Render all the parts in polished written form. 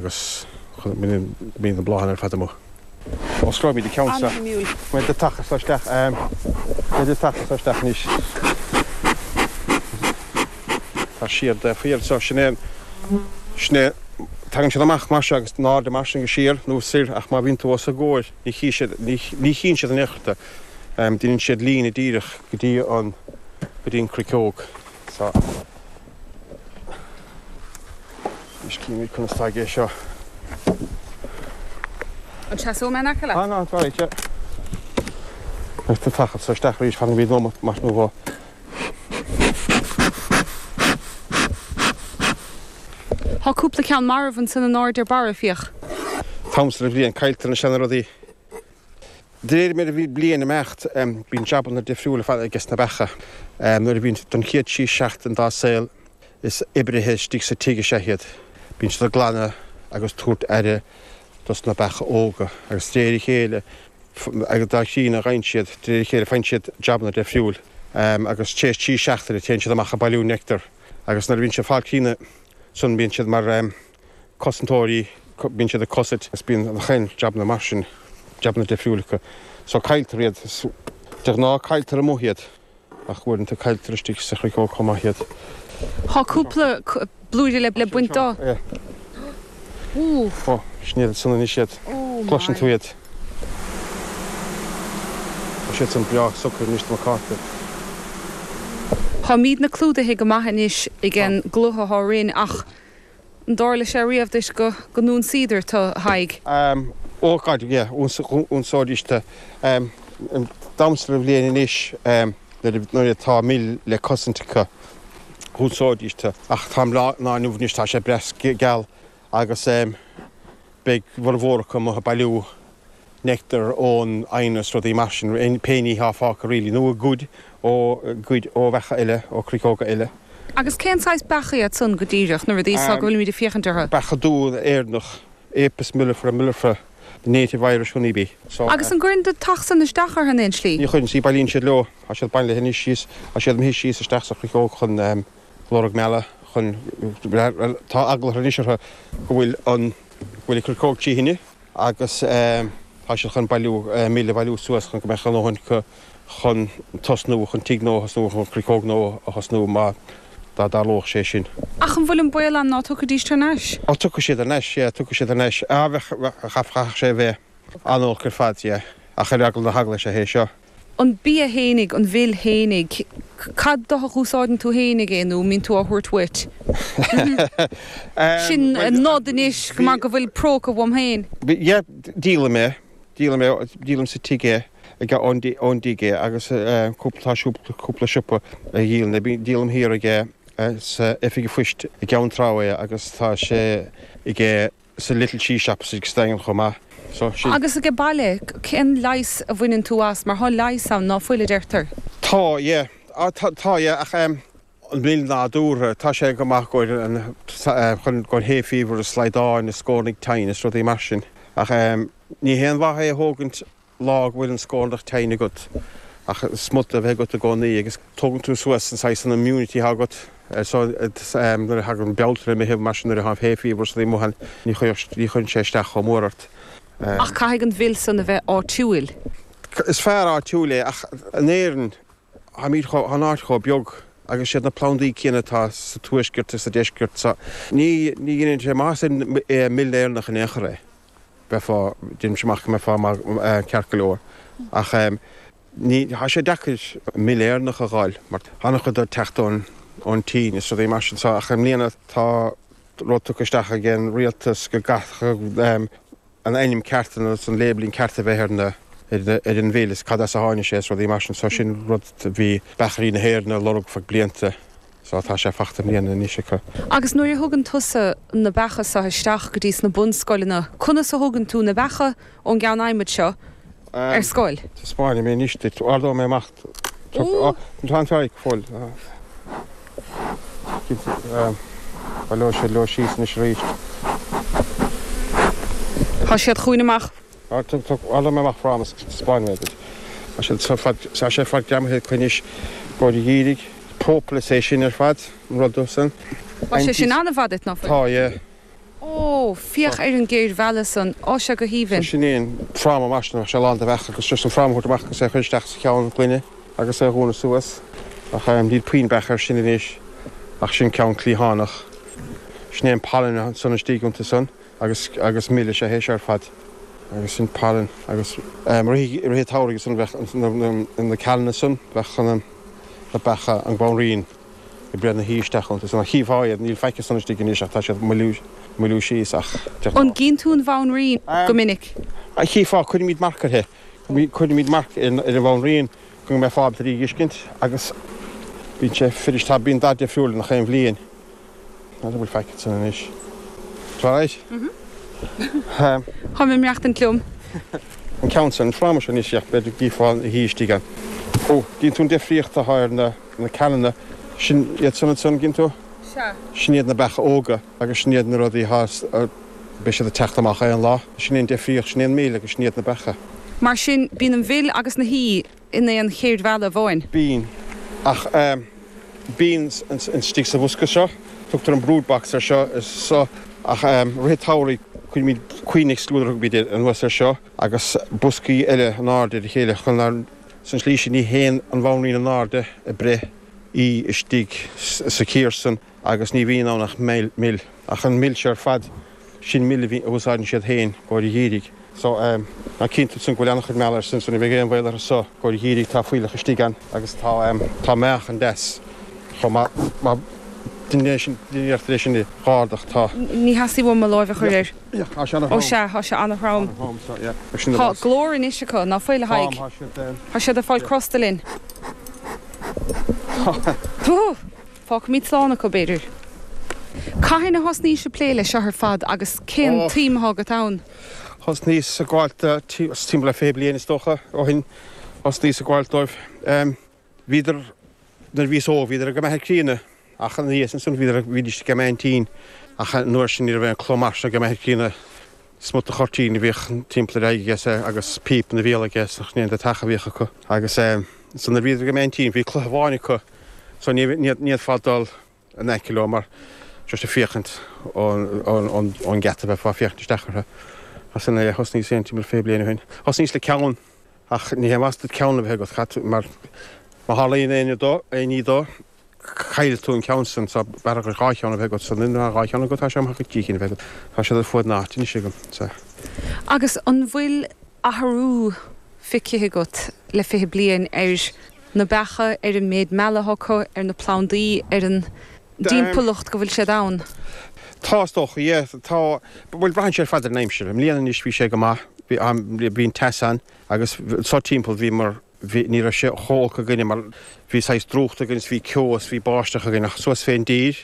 Agus bíonn na bláthanna ar fad amuigh. Osclóimid an ceann seo. An-shuimiúil. Beidh do taca seo isteach. Beidh do taca seo isteach anois. Tá siad faoi seo. Sin é an, sin é, tagann siad amach mar seo agus in airde mar sin go siar nó soir ach má bhíonn tú os a gcomhair ní chí siad, ní, ní chíonn siad in aon chor tú. Déanann siad líne díreach go dtí an, go dtí an cruiceog. So. Anois címid conas atá aige seo. An seasóidh mé in aice leat? Ah, no, it's alright, yeah. Beidh tú tagtha so isteach arís, fan go mbíonn nóimeat maith nó dhó. Tá cúpla ceann marbh ansan in airde ar barra, féach. T-am san bhliain, cailltear na seana-rudaí. De réir mar a bhí bliain imeacht, bíonn jabanna difriúla ar fad aige sna beacha. Nuair a bhíonn don chéad trí seachtain dá saol, is oibrithe istigh sa tigh is ea iad. Bíonn siad ag glanadh agus tabhairt aire dos na beacha óga agus de réir a chéile, agus dá chríonna a gheibheann siad, de réir a chéile faigheann siad jabanna difriúil agus tar éis trí seachtaine téann siad amach ag bailiú nectar agus nuair a bhíonn siad ag fáil críonna san bíonn siad mar cosantóirí, bíonn siad ag cosaint agus bíonn an jabanna mar sin, jabanna difriúil acu. So cailltear iad, de ghnáth cailltear amuigh iad ach uaireanta cailltear istigh sa chruiceog chomh maith iad. Tá cúpla blúire le baint dó. Ó, sin iad san anois iad. Cloiseann tú iad. Tá siad san breá socair anois do mo cáta. Táimídne clúdaithe go maith anois ag an gcloch atá orainn ach An dtarla sé riamh duit go n-ionsaíodar tu, a Thaidhg? Ó, God, yeah, ionsaídís tu. D'am sa bhliain anois, nuair atá mil le cosaint acu, ionsaídís tu. Ach tá an lá inniu anois, tá sé breá geal agus beidh formhór acu amuigh ag bailiú nectar ón éin is rudaí mar sin, pé ní atá fágtha really, nó ag goid ó, goid ó bheacha eile, ó chruiceoga eile. Agus cén saghas beacha iad san go díreach, na rudaí so go bhfuilimid ag féachaint orthu? Beacha dubha Éireannach, Apis mellifera mellifera, the native Irish honey bee. So. Agus an gcuireann do theach san isteach orthu in aon slí? Ní chuireann, see, bailíonn siad leo, tá siad bailithe anois síos, tá siad imithe síos isteach sa chruiceog chun lorg meala, chun, tá eagla anois orthu go bhfuil an, go bhfuil an chruiceog tí thine. agus tá siad chun bailiú, mil a bhailiú suas chun go mbeadh a ndóthain acu chun tosnú, chun tigh nua a thosnú, chun cruiceog nua a thosnú má dá dtarlódh sé sin. Ach an bhfuil an baol ann ná tiocfaidís thar n-ais? Ó, tiocfaidh siad thar n-ais, yeah, tiocfaidh siad thar n-ais. Ah, bheadh, chaithfeadh sé a bheith an-olc ar fad, yeah, ach ar eagla na heagla is ea é seo. An bia fhéinig, an mhil fhéinig, cad dó a úsáideann tú fhéinig é nó an mbíonn tú á thabhairt uait? Sin nod anois mar go bhfuil próca uaim féin. Yeah, díolaim é, díolaim é, díolaim sa tigh é, ag ón ón dtigh é agus cúpla, tá cúpla siopa a dhíolann é, díolaim thiar ag sa oifig an phoist i gCeann Trá é agus tá sé ag sa Little Cheese Shop sa Daingean chomh maith. So, sin. Agus age baile, cén leigheas a bhaineann tú as, mar thá leigheas ann, ná fuil, a deirtear? Tá, yeah. Ah, tá, tá, yeah, ach em, an mhil nádúrtha, tá sé go maith gcomhair an, chun, gcomhair hay fever is slaghdáin is scornaigh tinn is rudaí mar sin. Ach em, ní haon mhaith é a thógaint lá go bhfuil an scornach tinn agat ach smut a bheith agat i gcónaí agus tógann tú suas an saghas an immunity atá agat so nuair a thagann Bealtaine Meitheamh mar sin nuair atá hay fever is rudaí amuigh ann ní chuireann sé isteach chomh mór ort. Ach caithfidh an mhil san a bheith áitiúil. Is fearr áitiúil é ach in Éirinn táimid chomh, tá an áit chomh beag agus siad na plandaí céanna atá sa tuaisceart is sa deisceart so ní ní dhéanann sé maitheas mil Éireannach in aon chor é. Bheifeá, deirimse amach go mbeifeá maith, ceart go leor. Ach ní, tá sé deacair mil Éireannach a dh'fháil mar tá an-chuid ag teacht ón, ón tSín is rudaí mar sin. So, ach i mbliana tá rud tugtha isteach ag an rialtas go gcaithfeadh an ainm ceart agus an labelling ceart a bheith ar na, ar an mhil is cad as a tháinig sé is rudaí mar sin. So sin rud a bhí beachairí na hÉireann ag lorg feadh blianta. So tá sé fachta i mbliana anois acu. Agus nuair a thugann tusa na beacha seo isteach go dtí sna bunscoileanna, conas a thugann tú na beacha ón gceann adhmaid seo ar scoil? Taispeánfaidh mé anois duit. Ardóidh mé amach. Tá an t-aghaidh go fóill. Cinnte, baileoidh siad leo síos anois arís. Tá siad chugainn amach. Ardóidh mé amach fráma is taispeánfaidh mé duit. Tá siad ar fad, tá sé ar fad greamaithe acu anois go dhírigh. Propolis é sin ar fad, an rud san. Tá sé sin an-mhaith duit, ná fuil? Tá, yeah. Ó, féach ar an gcéir mheala san, tá sé go haoibhinn. So sin é an fráma mar sin, bheadh sé lán de bheacha agus just an fráma a thabhairt amach agus é a chur isteach sa cheann gloine agus é a dhúnadh suas. Ach níl puinn beach air sin anois ach sin ceann cliathánach. Sin é an pailin ansan istigh iontu san agus agus mil is ea é seo ar fad. Agus sin pailin agus i rith i rith an tsamhraidh ansan bheadh na na na cealanna san bheadh na beacha an ghamhraín ag breith na huí isteach iontu san. Ach chífeá iad, níl faic ansan istigh anois ach tá siad moilliú, moilliú síos ach de ghnáth. An gcíonn tú an bhanríon go minic? Chífeá, cuirimid marc uirthi. Cuirimid marc ar an bhanríon go mbeifeá ábalta í a fheiscint agus bíonn sé fuirist, tá, bíonn dath difriúil i ngach aon bhliain. N'fheadar an bhfuil faic ansan anois. Tá alright? Táim ag maireachtaint liom. An ceann san, an fráma seo anois, b'fhéidir go gcífeá na huí istigh ann. Ó, gcíonn tú an difríocht atá ar na. Na cealanna, sin iad san ansan, gcíonn tú? Sea. Sin iad na beacha óga agus sin iad na rudaí atá, beidh siad ag teacht amach aon lá. Sin é an difríocht, sin é an mil agus sin iad na beacha. Mar sin, bíonn an mhil agus na huí in aon chéir mheala amháin? Bíonn. Ach bíonn istigh sa bhosca seo, tugtar an brood box air seo, is so, ach rith an tsamhraidh cuirimid queen excluder a thugaimid air anuas air seo agus boscaí eile in airde ar a chéile chun nár, San tslí sin ní théann an bhanríon in airde ag breith uí istigh sa chíor san agus ní bhíonn ann ach mil. Ach an mil seo ar fad, sin mil a úsáideann siad féin i gcomhair an gheimhridh. So, ná cinnte ansan go bhfuil an-chuid meala air san, so ní bheidh aon bhaol orthu so i gcomhair an gheimhridh, tá fuílleach istigh ann agus tá, tá meáchan deas chomh maith. Má, déan é sin, déan iarracht é sin a dh'ardach, tá. Ní theastaigh uaim mo láimh a chur air. Tá sé an-throm. Ó sea, tá sé an-throm. Tá glór anois acu, ná fuil, a Thaidhg? Tá siad ag fáil crosta linn. Fágfaimid slán acu, b'fhéidir. Cathain a thosnaís ag plé leis seo ar fad agus cén tsuim atá agat ann? Thosnaíos ag gabháilt timpeall le 20 bliain is dócha ó shin, thosnaíos ag gabháilt dóibh. Bhíodar, nuair a bhíos óg, bhíodar ag m'athair críonna, ach ina dhiaidh sin, bhíodar, bhídís ag m'aintín, ach an uair sin ní raibh aon cló mar seo ag m'athair críonna, smut de chuirtín a bhíodh timpeall ar a aghaidh aige agus píp ina bhéal aige, is ní aon deatach a bhíodh acu. Agus so nuair a bhíodar ag m'aintín, bhí cloich amháin acu, so ní, ní fhéadfá dul in aice leo mar just ag féachaint ón gheata bheifeá ag féachaint isteach orthu. As sin é, thosnaíos féin timpeall 20 bliain ó shin. Thosnaíos le ceann. Ach ní haon mhaith duit ceann a bheith agat, caithfidh tú, mar má tharlaíonn aon dó, aon ní dó, caillfidh tú an ceann san, so b'fhearr dhuit dhá cheann a bheith agat, so nuair atá dhá cheann agat, tá sé maith dhuit trí cinn a bheith agat. Tá siad ar fuaid na háite anois agam, so. Agus an bhfuil athrú feicthe agat le 20 bliain ar na beacha, ar an méid meala atá acu, ar na plandaí, ar an dtimpeallacht go bhfuil siad ann? Tá, is dócha, yeah. Tá, bhuel, braitheann sé ar fad ar an aimsir. I mbliana anois bhí sé go maith, bhí, bhí an teas ann agus so timpeall bhí mar, bhí, ní raibh sé chomh holc againne mar bhí saghas drúcht againn is bhí ceo is bhí báisteach againn ach suas fén dtír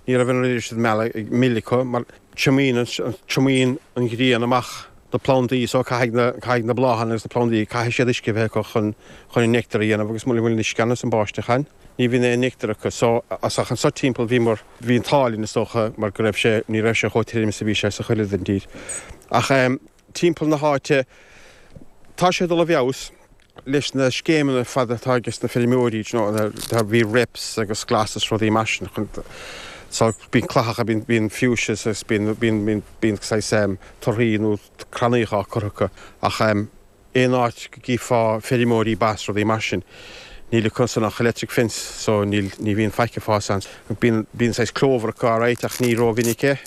ní raibh an oiread sin meala, mil acu mar triomaíonn, triomaíonn an ghrian amach na plandaí so caithfidh na, caithfidh na bláthanna agus na plandaí, caithfidh siad uisce a bheith acu chun, chun an neictear a dhéanamh agus mura bhfuil an uisce ann is an báisteach ann. Ní bhíonn aon neictear acu so ach anso timpeall bhíomar, bhí an t-ádh linn is dócha mar go raibh sé, ní raibh sé chomh tirim is a bhí sé sa chuid eile den tír. Ach timpeall na háite tá sé ag dul i bhfeabhas leis na scéimeanna ar fad atá ages na feirmeoirí, you know, tá, bhí reps agus glas is rudaí mar sin chun, so bíonn clathacha, bíonn, bíonn fuchsias agus bíonn, bíonn, bíonn, bíonn saghas torthaí nó crannaíocha á cur acu ach aon áit go gcífeá feirmeoirí ba is rudaí mar sin, níl acu san ach electric fence so níl, ní bhíonn faic ag fás ann. Bíonn, bíonn saghas clover acu alright ach ní ró-mhinic é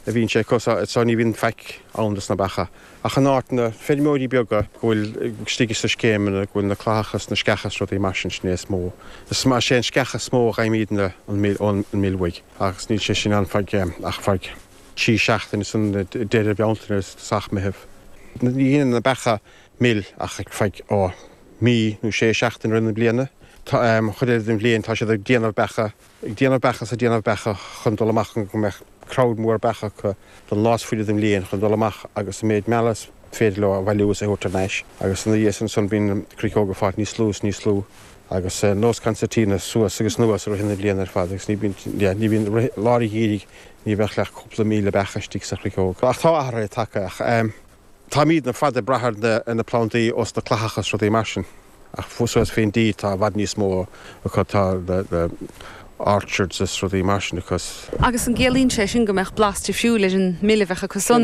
a bhíonn sé acu so, so ní bhíonn faic ann dos na beacha. Ach in áiteanna, feirmeoirí beaga go bhfuil istigh sna scéimeanna, go bhfuil na clathacha is na sceacha is rudaí mar sin, sin é is mó. Is mar, sé an sceach is mó a fhaighimidne an mil, ón mil uaidh agus níl sé sin ann feadh, ach feadh. 3 seachtaine san deireadh Bealtaine is tosach Meitheamh. Ní dhéanann na beacha mil ach ar feadh ó mí nó sé seachtaine i rith na bliana. Tá an chuid eile den bhliain tá siad ag déanamh beacha, ag déanamh beacha is ag déanamh beacha chun dul amach chun go mbeadh crowd mór beacha acu don lá is faide den bhliain chun dul amach agus an méid meala is féidir leo a bhailiú is a thabhairt thar n-ais. Agus ina dhiaidh sin ansan bíonn na cruiceoga ag fáilt níos lú is níos lú agus nós concertina suas agus anuas i rith na bliana ar fad agus ní bhíonn, yeah, ní bhíonn rith, lár an gheimhridh Ní bheadh ach cúpla 1,000 beach istigh sa chruiceog. Ach tá athruithe tagtha. Ach táimidne ar fad ag brath ar na plandaí ós na clathacha is rudaí mar sin. Ach suas fén dtír tá i bhfad níos mó acu. Tá na. Orchards is rudaí mar sin acu. Agus an gciallaíonn sé sin go mbeadh blas difriúil ar an mil a bheadh acu san?